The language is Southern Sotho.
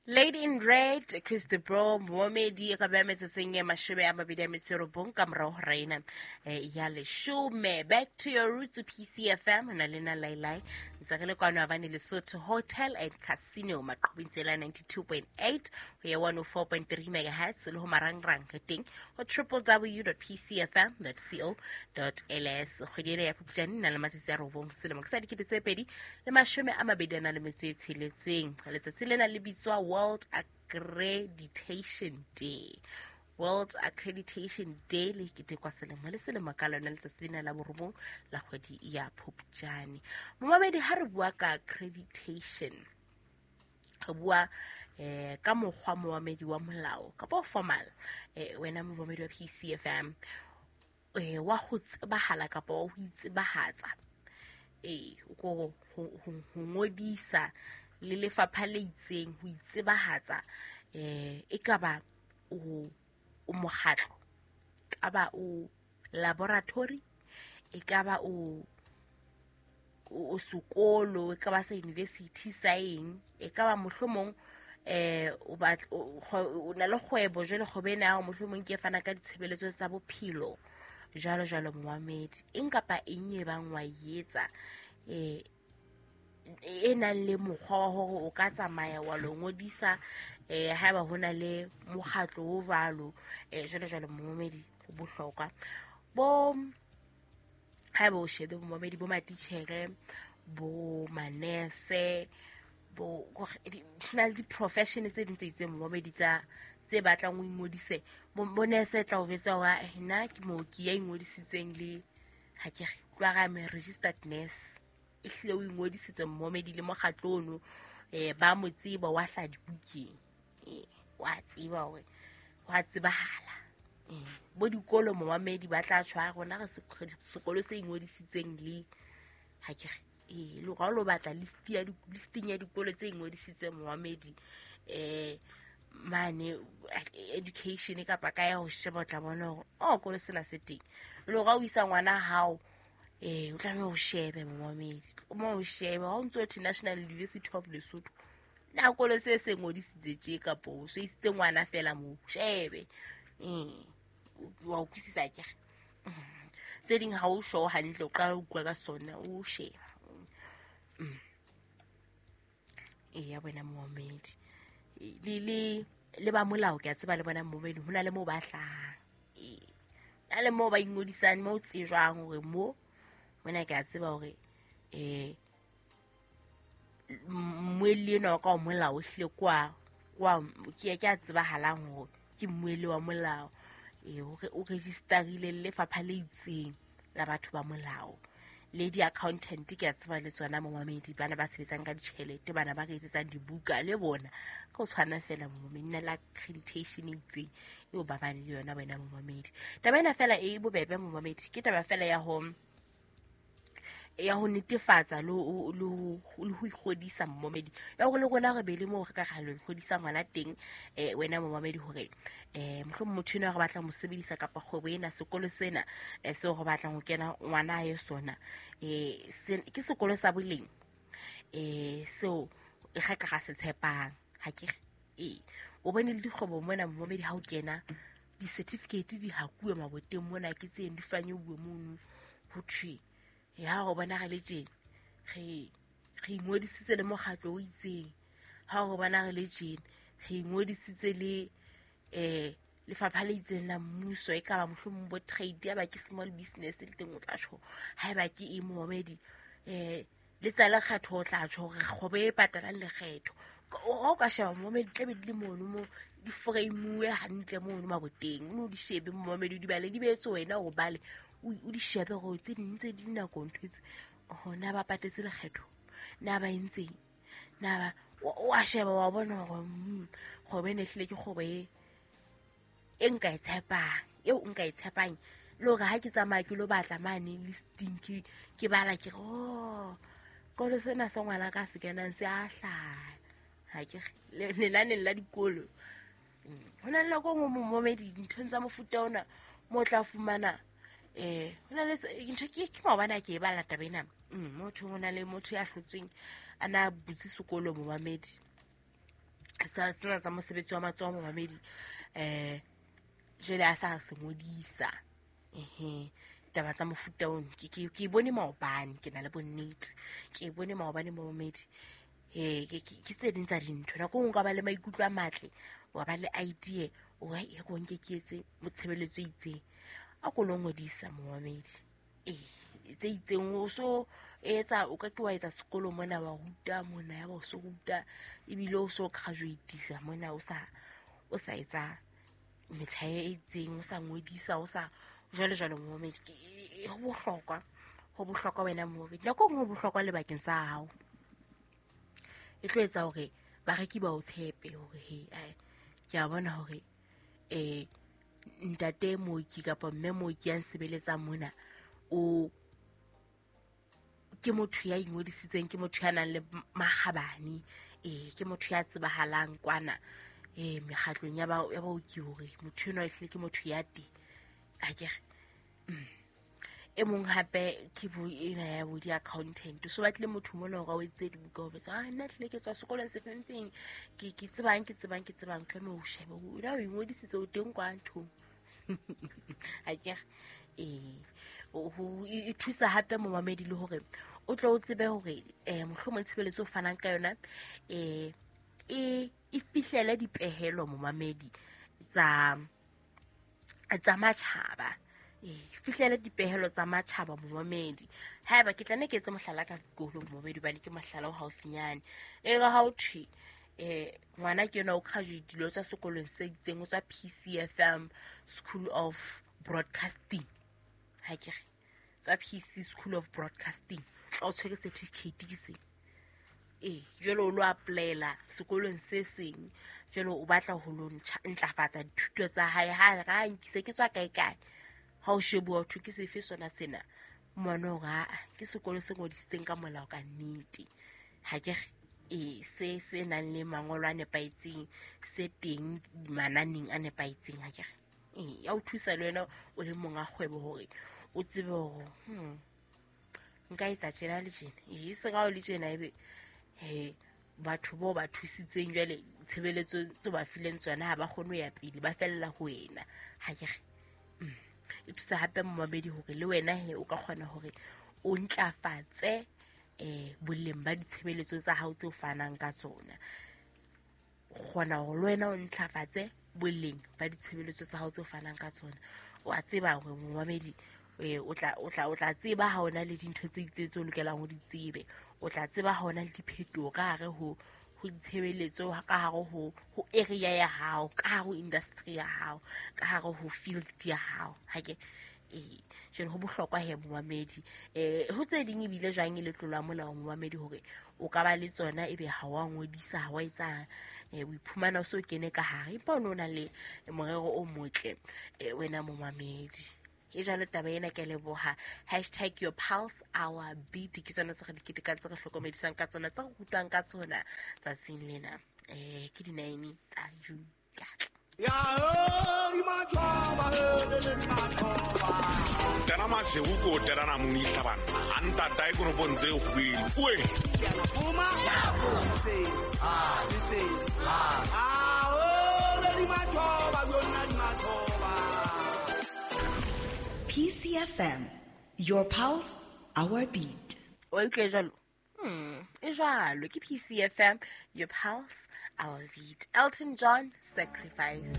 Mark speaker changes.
Speaker 1: Lady in Red, Chris de Bro, momedi e ka beha metsotsong e 29 ka morao ho raina ya leshome. Back to your roots, PCFM, na lena Lailai. Ntse re le kwano Havane Lesotho Hotel and Casino, maqhubing tsela 92.8 ho ya 104.3 megahertz le ho marangrang re teng ho www.pcfm.co.ls. Kgwedi ena ya Phupjane na le matsatsi a 9 selemo ke sa 2026. Letsatsi lena le bitswa World Accreditation Day. World Accreditation Day le ketekwa selemo le selemo ka lona letsatsi lena la 9 la kgwedi ya Phupjane. Momamedi, ha re bua ka accreditation, re bua ka mokgwa momamedi wa molao kapa formal, wena momamedi wa PCFM, wa ho tsebahala kapa wa ho itsebahatsa, ko ho ngodisa le lefapha le itseng, ho itsebahatsa, e kaba o mokgatlo, kaba o laboratory, e kaba o sekolo, e kaba sa university sa eng, e kaba mohlomong o na le kgwebo, jwale kgwebo ena ya mohlomong ke e fana ka ditshebeletso tsa bophelo, jwalo jwalo momamedi. Eng kapa eng e bang wa etsa e nang le mokgwa wa hore o ka tsamaya wa lo ngodisa, haeba ho na le mokgatlo o jwalo, jwalo jwalo momamedi, ho bohlokwa. Bo haeba o shebe momamedi, bo matitjhere, bo manese, bo na le di-profession tse ding tse itseng momamedi tsa tse batlang o ingodise. Bo nurse tla o jwetsa hore nna ke mooki ya ingodisitseng le ha ke re tloha re registered nurse, ehlile o ingodisitse momamedi le mokgatlo ono, ba mo tseba, wa hla dibukeng, wa tseba hore wa tsebahala. Bo dikolo momamedi ba tla tshwara rona re sekolo se ingodisitseng le ha ke re le ga o batla listing ya dikolo tse ingodisitseng momamedi, mane education kapa ka ya ho sheba, o tla bona hore o kolo sena se teng. Le ga o isa ngwana hao, o tlameha o shebe momamedi, mo o shebe ha o ntso thwe National University of Lesotho, na kolo se se ngodisitse tje kapa o se isitse ngwana fela mo shebe, wa utlwisisa ke re tse ding ha o show hantle, o qala o utlwa ka sona, o sheba. Ya bona momamedi, le ba molao ke a tseba le bona momamedi, ho na le moo ba hlahang, na le moo ba ingodisang, moo tsejwang hore mo mona ke a tseba hore mmuelli enwa wa ka wa molao ehlile kwa ke a tsebahalang hore ke mmuelli wa molao, o registerile le lefapha le itseng la batho ba molao. Le di-accountant ke a tseba le tsona momamedi, bana ba sebetsang ka ditjhelete, bana ba re etsetsang dibuka le bona ka ho tshwana fela momamedi, na le accreditation e itseng eo ba bang le yona wena momamedi. Taba ena fela e bobebe momamedi, ke taba fela ya ho netefatsa le ho ikgodisa momamedi, ya hore le rona re be le moo re ka ra lo ikgodisa ngwana teng, wena momamedi, hore mohlomong motho enwa re batlang ho sebedisa kapa kgwebo ena, sekolo sena seo re batlang ho kena ngwana ye sona, ke sekolo sa boleng, seo re ka ra se tshepang. Ha ke re o bone le dikgwebo mona momamedi, ha o kena di-certificate di hakuwe maboteng mona, ke tseng di fanyeuwe mono, ho thwe ya go bona re le tjena re ingodisitse le mokgatlo o itseng, ha go bona re le tjena re ingodisitse le lefapha le itseng la mmuso, e ka ba mohlomong bo trade, ya ba ke small business le teng o tla tjho, haeba ke eng momamedi, le tsa lekgetho o tla tjho hore kgwebo e patalang lekgetho. Ha o ka sheba momamedi, tlabe di le mono mo di frame-uwe hantle mono maboteng, o no di shebe momamedi, di bale di beetse wena o bale, o di shebe hore tse ding tse di nako ntho tse hona ba patetse lekgetho, na ba entseng, na ba o a sheba wa bona hore kgwebo ena ehlile ke kgwebo e nka e tshepang, eo nka e tshepang, le hore ha ke tsamaya ke lo batla mane listing ke bala ke re oh kolo sena sa ngwana ka se kenang se a hlaha, ha ke lenaneng la dikolo. Ho na le nako e nngwe momamedi dinthong tsa mofuta ona mo tla fumana ho na le ntho ke maobane a ke e bala taba ena, motho ho na le motho ya hlotsweng a na butse sekolo momamedi, Sa sena tsa mosebetsi wa matsoho momamedi, jwale a sa se ngodisa. Ehe, taba tsa mofuta ono ke bone maobane, ke na le bonnete, ke bone maobane momamedi. Ke tse ding tsa dintho. Nako e nngwe o ka ba le maikutlo a matle, wa ba le idea, o e ko nke ke etse motshebeletso e itseng, a ko lo ngodisa momamedi. Ee, tse itseng o so etsa, o ka ke wa etsa sekolo mona, wa ruta mona, ya ba o so ruta ebile o so graduatisa mona, o sa etsa metjha e itseng, o sa ngodisa, o sa jwale jwale momamedi. Ho bohlokwa wena momamedi. Nako e nngwe ho bohlokwa le bakeng sa hao, e tlo etsa hore bareki ba o tshepe hore he, ke a bona hore ntate mooki kapa mme mooki ya nsebeletsang mona o ke motho ya ingodisitseng, ke motho ya nang le makgabane, ke motho ya tsebahalang kwana mekgatlong ya baoki hore motho enwa ehlile ke motho ya teng. Akere e mong hape ke bo ena ya bo di-accountant, so batlile motho mona hore a o etse dibuka ho fetsa, nna hlile ke tswa sekolong se feng, ke tsebang tlameha o shebe o na o ingodisitse o teng kwa nthong. Akere e thusa hape momamedi le hore o tlo o tsebe hore mohlomong tshebeletso o fanang ka yona e fihlele dipehelo momamedi tsa matjhaba. Fihlele dipehelo tsa matjhaba momamedi. Haeba ke tla ne ke etse mohlala ka dikolo momamedi, hobane ke mohlala o haufinyane. E re ha o thwe ngwana ke yena o graduate-ile, o tswa sekolong se itseng, o tswa PCFM School of Broadcasting. Ha ke re tswa PC School of Broadcasting, tla o tshwere certificate ke se. Jwale o lo apply-ela sekolong se seng, jwale o batla ho lo ntlafatsa dithuto tsa hae. Ha ra nkise ke tswa kae kae, ha o shebuwa ho ke sefe sona sena, mmone hore ke sekolo se ngodisitseng ka molao ka nnete. Ha ke re se nang le mangolo a nepahetseng, se teng mananeng a nepahetseng. Ha ke re ya o thusa le wena o le monga kgwebo hore o tsebe hore nka etsa tjena le tjena, e se ka o le tjena ebe batho bao ba thusitseng jwale tshebeletso tse ba fileng tsona ha ba kgone ho ya pele, ba fella ho wena. Ha ke re e thusa hape momamedi hore le wena he o ka kgona hore o ntlafatse boleng ba ditshebeletso tsa hao tse o fanang ka tsona. Kgona hore le wena o ntlafatse boleng ba ditshebeletso tsa hao tse o fanang ka tsona. O a tseba hore momamedi o tla tseba ha ona le dintho tse itseng tse o lokelang ho di tsebe. O tla tseba ha ona le diphetoho ka hare ho ditshebeletso, ka hare ho area ya hao, ka hare ho industry ya hao, ka hare ho field ya hao. Ha ke jwale ho bohlokwa he momamedi. Ho tse ding ebile jwang e le tlolo ya molao momamedi hore o ka ba le tsona ebe ha wa ngodisa, ha wa etsa, o iphumana o so kene ka hare, empa o no na le morero o motle wena momamedi. E jalo taba ena, ke leboha. Hashtag your pulse our beat ke tsona tse re di ketekang, tse re hlokomedisang ka tsona, tse re rutwang ka tsona tsatsing lena. Ke di-9 tsa June. Ke atla.
Speaker 2: Tena masego ko terana moni tlhabana a ntata e koropong tse kgwele oe.
Speaker 3: PCFM, your pulse, our beat.
Speaker 1: O utlwe jalo? E jalo ke PCFM, your pulse, our beat. Elton John, Sacrifice.